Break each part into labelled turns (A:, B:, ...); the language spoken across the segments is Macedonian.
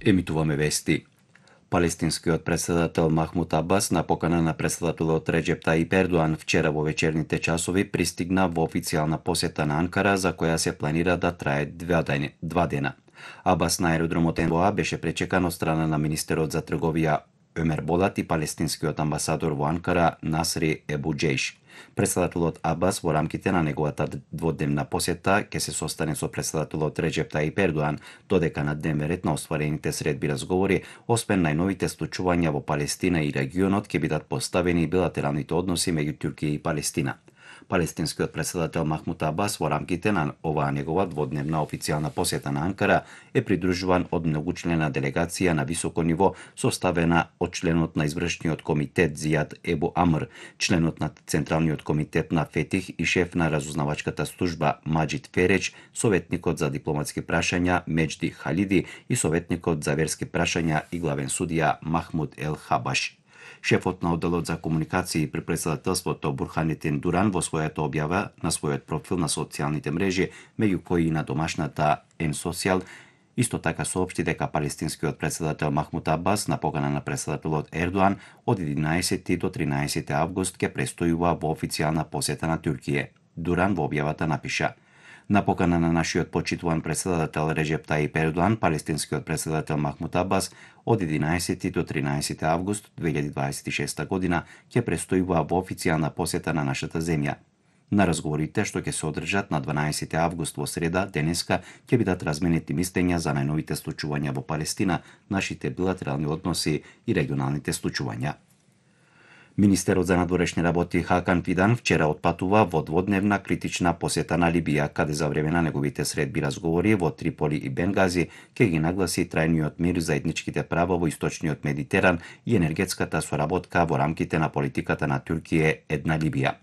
A: Емитуваме вести. Палестинскиот председател Махмуд Абас на покана на председателот Реџеп Таип Ердоан вчера во вечерните часови пристигна во официјална посета на Анкара, за која се планира да трае 2 дена. Абас на аеродромот Енбоа беше пречекан од страна на министерот за трговија Омер Болат и палестинскиот амбасадор во Анкара Насри Ебу Џејш. Председателот Абас во рамките на неговата дводневна посета ќе се состане со председателот Реџеп Таип Ердоан, додека на дневен ред на остварените средби разговори, освен најновите случувања во Палестина и регионот, ќе бидат поставени и билатералните односи меѓу Турција и Палестина. Палестинскиот председател Махмуд Абас во рамките на оваа негова дводневна официјална посета на Анкара е придружуван од многучлена делегација на високо ниво, составена од членот на извршниот комитет Зијад Ебу Амр, членот на Централниот комитет на Фетих и шеф на разузнавачката служба Маџид Фереџ, советникот за дипломатски прашања Меџди Халиди и советникот за верски прашања и главен судија Махмуд Ел Хабаш. Шефот на одделот за комуникации при председателството Бурханетин Дуран во својата објава на својот профил на социјалните мрежи, меѓу кои и на домашната Н-Социјал, исто така соопшти дека палестинскиот председател Махмуд Абас на покана на председателот Ердоан од 11 до 13 август ќе престојува во официјална посета на Турција. Дуран во објавата напиша: На покана на нашиот почитуван председател Реџеп Таип Ердоан, палестинскиот председател Махмуд Абас од 11 до 13 август 2026 година ќе престојува во официјална посета на нашата земја. На разговорите што ќе се одржат на 12 август во среда, денеска, ќе бидат разменети мислења за најновите случувања во Палестина, нашите билатерални односи и регионалните случувања. Министерот за надворешни работи Хакан Фидан вчера отпатува во дводневна критична посета на Либија, каде за време на неговите средби разговори во Триполи и Бенгази ќе ги нагласи трајниот мир, заедничките права во источниот Медитеран и енергетската соработка во рамките на политиката на Турција една Либија.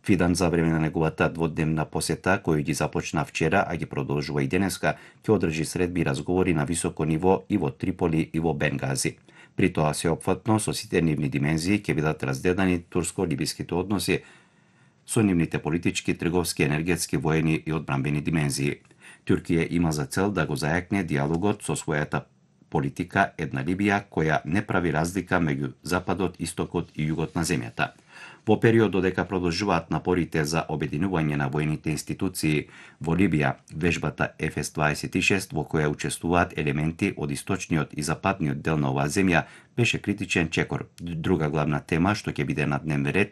A: Фидан за време на неговата дводневна посета, кој ги започна вчера, а ги продолжува и денеска, ќе одржи средби и разговори на високо ниво и во Триполи и во Бенгази. При тоа сеопфатно со сите нивни димензии ќе бидат разгледани турско-либиските односи со нивните политички, трговски, енергетски, воени и одбранбени димензии. Турција има за цел да го зајакне диалогот со својата политика една Либија која не прави разлика меѓу Западот, Истокот и Југот на земјата. Во период додека продолжуваат напорите за обединување на воените институции во Либија, вежбата ФС-26 во која учествуваат елементи од источниот и западниот дел на оваа земја беше критичен чекор. Друга главна тема што ќе биде на дневен ред